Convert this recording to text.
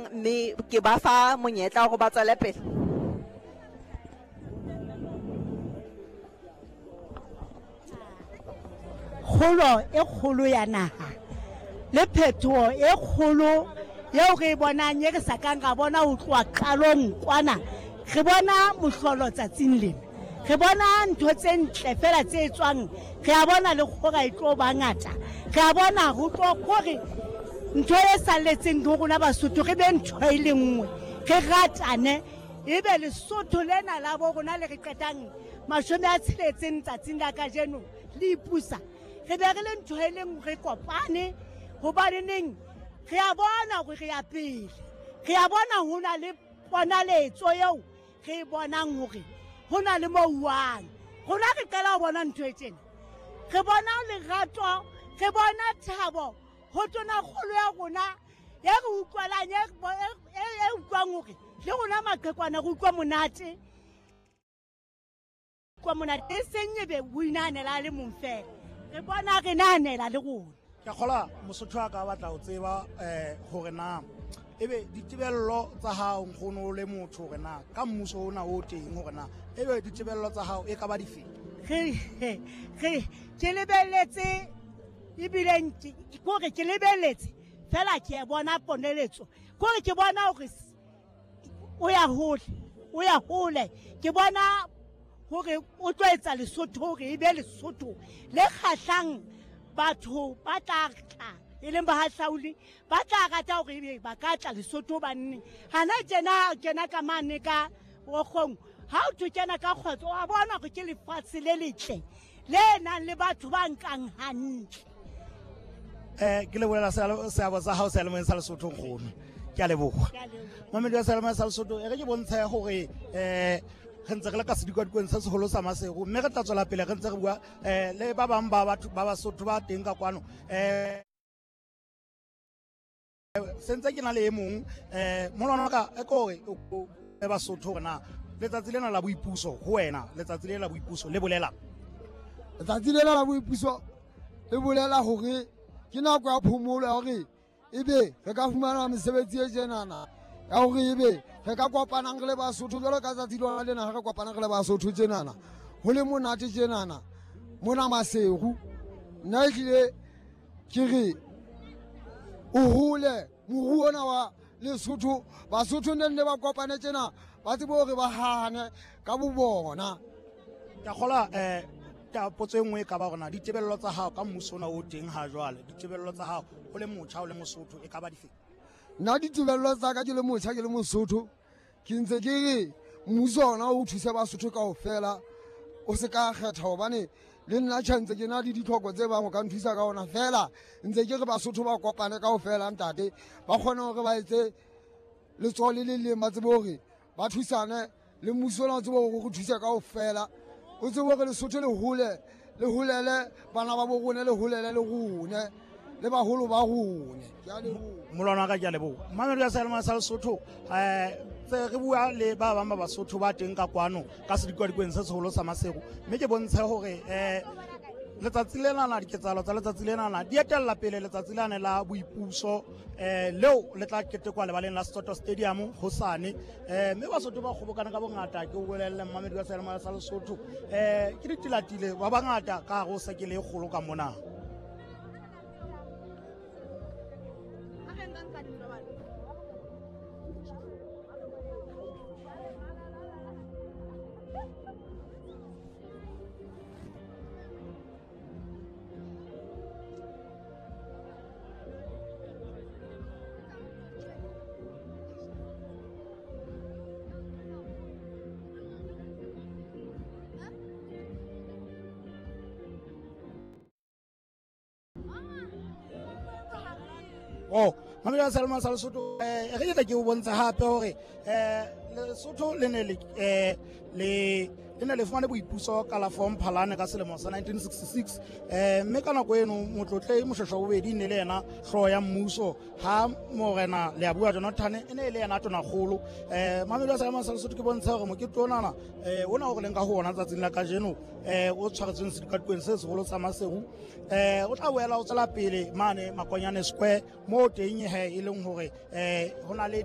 jwang mme ke ba fa monyetla gore ba tswele pele. Kgolo e kgolo ya naha le phetoho e kgolo eo re e bonang e re sa kang ra bona ho tloha qalong kwana, re bona mohlolo tsatsing lena, re bona ntho tse ntle fela tse tswang, re a bona le kgora e tlo ba ngata, re a bona ho tlo kgore ntho e salletseng ho rona Basotho re be ntho e le nngwe, re ratane, ebe Lesotho lena la bo rona le re qetang 60 tsatsing la kajeno le ipusa, re be re le ntho e leng re kopane, hobaneneng re a bona hore re ya pele, re a bona ho na le ponaletso eo re e bonang hore ho na le mo uwang. Rona re qala ho bona ntho e tjena, re bona lerato, re bona thabo ho tonakgolo ya rona e re utlwalang, e utlwang hore le rona maqhekwana re utlwa monate, kwa monate e seng ebe o inahanela a le mong fela, re bona re nahanela le rona. Ke kgola Mosotho a ka batla ho tseba hore na ebe ditebello tsa hao nkgono le motho hore na ka mmuso ona o teng hore na ebe ditebello tsa hao e ka ba dife. Re ke lebelletse ebile kore ke lebelletse fela ke bona poneletso, kore ke bona hore o ya hole, o ya hole, ke bona hore o tlo etsa Lesotho hore e be Lesotho le kgahlang batho ba tla tla, e leng bahahlauli ba tla rata hore ebe ba ka tla Lesotho hobane hana tjena kena ka mane ka Okgong, ha o thwe kena ka kgotso, wa bona hore ke lefatshe le letle le nang le batho ba nkang hantle. Ke lebohela seabo sa hao seyalemoyeng sa Lesotho nkgono, ke a leboha. Mamedi wa seyalemoya sa Lesotho, e re ke bontshe hore re ntse re le ka sedikwadikong se seholo sa Maseru, mme re tla tswela pele re ntse re bua le ba bang ba batho ba Basotho ba teng ka kwano. Sentse ke na le e mong molwana wa ka e kore e Basotho hore na letsatsi lena la boipuso ho wena, letsatsi lena la boipuso le bolela? Letsatsi lena la boipuso le bolela hore ke nako ya phomolo ya hore ebe re ka fumana mesebetsi e tjenana, ya hore ebe re ka kopanang re le Basotho jwalo ka tsatsi lona lena, ha re kopanang re le Basotho tjenana, ho le monate tjenana mona Maseru. Nna ehlile ke re o hole moruo ona wa Lesotho, Basotho ne nne ba kopane tjena, ba tsebe hore ba hahane ka bo bona. Ke a kgolwa ka potso e nngwe e ka ba hore na ditebello tsa hao ka mmuso ona o teng ha jwale, ditebello tsa hao o le motjha o le Mosotho e ka ba dife? Nna ditebello tsa ka ke le motjha ke le Mosotho, ke ntse ke re mmuso ona o thuse Basotho kaofela, o se ka kgetha, hobane le nna tjhe ntse ke na le ditlhoko tse bang o ka nthusa ka ona, fela ntse ke re Basotho ba kopane kaofela ntate, ba kgone hore ba etse letsoho le le leng, ba tsebe hore ba thusane le mmuso ona, o tsebe hore o re thuse kaofela, o tsebe hore Lesotho le hole, le holele bana ba bo rona, le holele le rone le baholo ba rone. Ke a leboha. Molwana wa ka, ke a leboha. Mamedi wa seyalemoya sa Lesotho, tse re bua le ba bang ba Basotho ba teng ka kwano ka sedikwadikong se seholo sa Maseru, mme ke bontshe hore letsatsi lenana, diketsahalo tsa letsatsi lenana di etella pele letsatsi lane la boipuso leo le tla ketekwa lebaleng la Setsoto Stadium hosane. Mme Basotho ba kgobokana ka bongata, ke o bolelle mmamedi wa seyalemoya sa Lesotho, ke ditilatile ba bangata ka hare ho sekele e kgolo ka mona. Oh, Mamedi wa Salma sa Lesotho, re ke tla ke o bontsha hape hore Lesotho le ne le le ne le fumane boipuso ka la 4 Mphalane ka selemo sa 1966, mme ka nako eno motlotlei Moshweshwe bobedi ne le yena hlooho ya mmuso, ha morena Leabua Jonathan e ne e le yena tonakgolo. Mamedi wa Salma sa Lesotho, ke bontsha hore mokete onana ona o re leng ka ho ona tsatsing la kajeno, o tshwaretsweng sedikadikong se seholo sa Maseru, o tla boela o tswela pele mane Makonyane Square, moo teng he e leng hore ho na le